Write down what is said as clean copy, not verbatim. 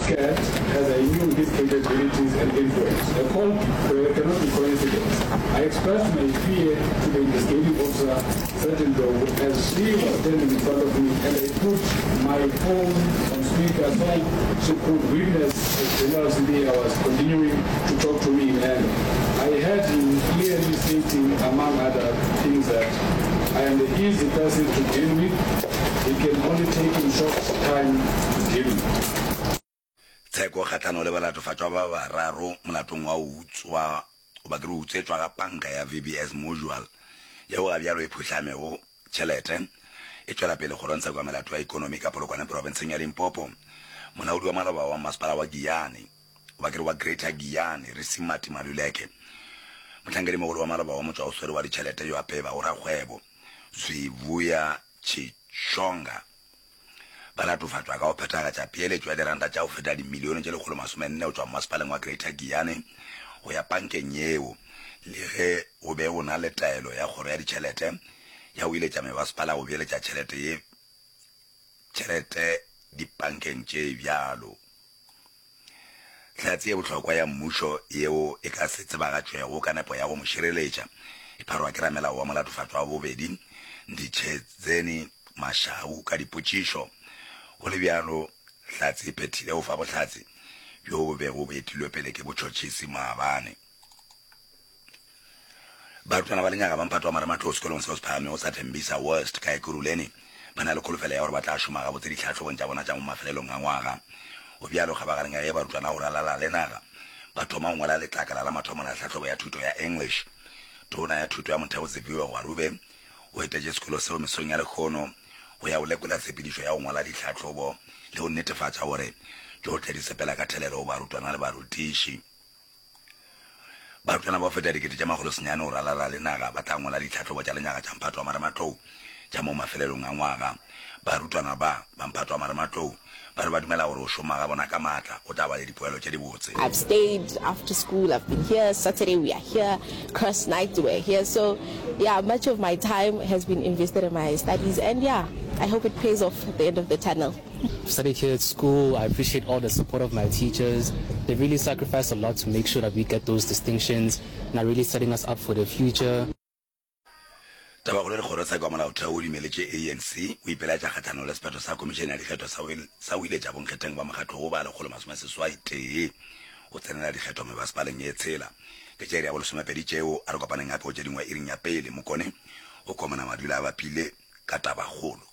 scared as I knew his capabilities and influence. The call cannot be coincidence. I expressed my fear to the investigating officer, Sergeant Ndlovu, as she was standing in front of me and I put my phone on speaker so she could witness as General Sibiya was continuing to talk to me in anger. I heard him clearly stating, among other things, that I am the easy person to deal with. It can only take him short time to deal with. Tsheko kgahlano le balatofatšwa ba bararo molatong wa go utswa goba ke re utswetšwa ga panka ya VBS Mutual yeo ga bjalo e phuhlamego tšhelete e tšwela pele kgorongtsheko ya melato ya ekonomi ka Polokwane profenseng ya Limpopo. Molaodi wa maloba wa masepala wa Giyani goba ke re wa Greater Giyani Risimati Maluleke, mohlankedimogolo wa maloba wa motšwaoswere wa ditšhelete yo a pebago rakgwebo Zwivhuya Tshishonga ba latofatšwa ka go phethagatša peeletšo ya diranta tša go feta dimilione tše 140 go tšwa mmasepaleng wa Greater Giyani go ya pankeng yeo le ge go be go na le taelo ya kgoro ya ditšhelete ya go iletša mebasepala go beeletša tšhelete ye tšhelete dipankeng tše bjalo. Hlatse ye bohlokwa ya mmušo yeo e ka se tsebagatšwego ka nepo ya go mo šireletša e pharwa ke ramelao wa molatofatšwa wa bobedi, Nditshedzeni Mashau ka dipotšišo. Go le bjalo, hlatse e phethile go fa bohlatse bjo bo bego bo etilwe pele ke botšhotšhisi maabane. Barutwana ba lenyaga ba mphato wa marematlou sekolong seo se phagamego sa Tembisa West ka Ekurhuleni ba na le kholofelo ya gore ba tla šoma gabotse ditlhahlobong tša bona tša mo mafelelong a ngwaga. Go bjalo kgabagareng ya ge barutwana go ralala le naga ba thoma go ngwala letlakala la mathomo la tlhahlobo ya thuto ya English. Tona ya Thuto ya Motheo Siviwe Gwarube o etetše sekolo seo mesong ya lehono go ya go lekola tshepedišo ya go ngwala ditlhahlobo le go netefatša gore tšohle di sepela ka thelelo go barutwana le barutiši. Barutwana ba go feta 900,000 go ralala le naga ba tla ngwala ditlhahlobo tša lenyaga tša mphato wa marematlou tša mo mafelelong a ngwaga. Barutwana ba ba mphato wa marematlou ba re ba dumela gore go šoma ga bona ka maatla go tla ba le dipoelo tše dibotse. I've stayed after school, I've been here, Saturday we are here, cross night we're here, so yeah, much of my time has been invested in my studies and yeah, I hope it pays off at the end of the tunnel. I've studied here at school, I appreciate all the support of my teachers, they really sacrifice a lot to make sure that we get those distinctions and are really setting us up for the future. Tabakgolo le Kgorotsheko ya Molaotheo o dumeletše ANC go ipelaetša kgahlanong le sephetho sa Khomišene ya Dikgetho sa sa go iletša bonkgetheng ba mokgatlo wo ba 181 go tsenela dikgetho mebasepaleng ye tshela. Ke tša iri ya bolesomepedi tšeo, a re kopaneng gape go tše dingwe iring ya pele. Mokone o komana madula a bapile ka tabakgolo.